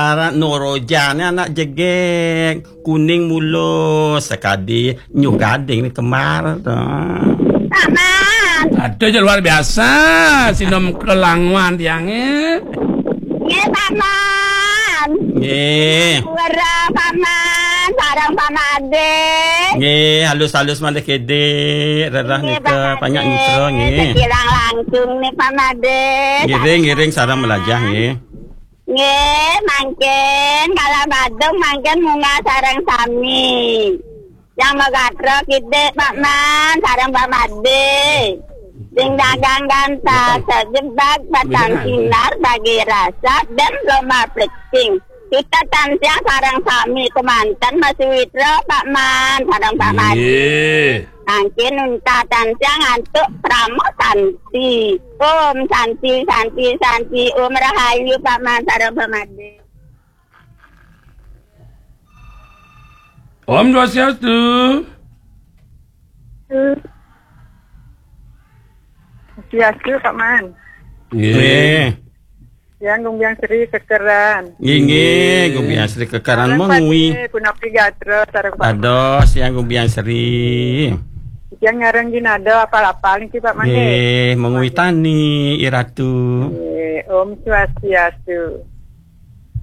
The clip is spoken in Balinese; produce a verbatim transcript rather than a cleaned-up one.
Aran Norojané anak jegég, kuning mulus, sakadi nyuh gading né kembar to. Paman. Aduh, ya luar biasa, sinom kelangwan tiangé. Nggih, Paman. Nggih. Wara, Paman, sareng Pamadé. Nggih, halus-halus malih gedé, rerah Nggih, nika Pamadé. Panyak mitra, nggih. Kirang langkung nih, Pamadé. Ngiring, ngiring, sareng melajah, nggih. Nggih, mangkin kala badung mangkin munggah sareng sami. Yang magatra kidik Pak Man sareng Pak Madé. Sing dagang gantah, sajebag batang sinar bagi rasa dan lomba plecing. Kita tansah sareng sami kemanten Mas Witra, Pak Man sareng Pak Madé. Nggih. Mangkin unta tansah ngantuk krama santi. Om Santi, Santi, Santi, Om Rahayu, Pak Man sareng Pak Madé. Om Swastiastu. Swastiastu, Pak Man. Nggih. Nggih. Yang Gumbiang Sri kekeran. Nggih, nggih, Gumbiang Sri kekeran. Sareng mengwi. Pati, punapi gatra, sareng Pak. Dados, yang Gumbiang Sri. Yang ngarang ginada apal-apal niki, Pak Man, nggih. Nggih, mengwi tani, Iratu. Nggih, Om Swastiastu.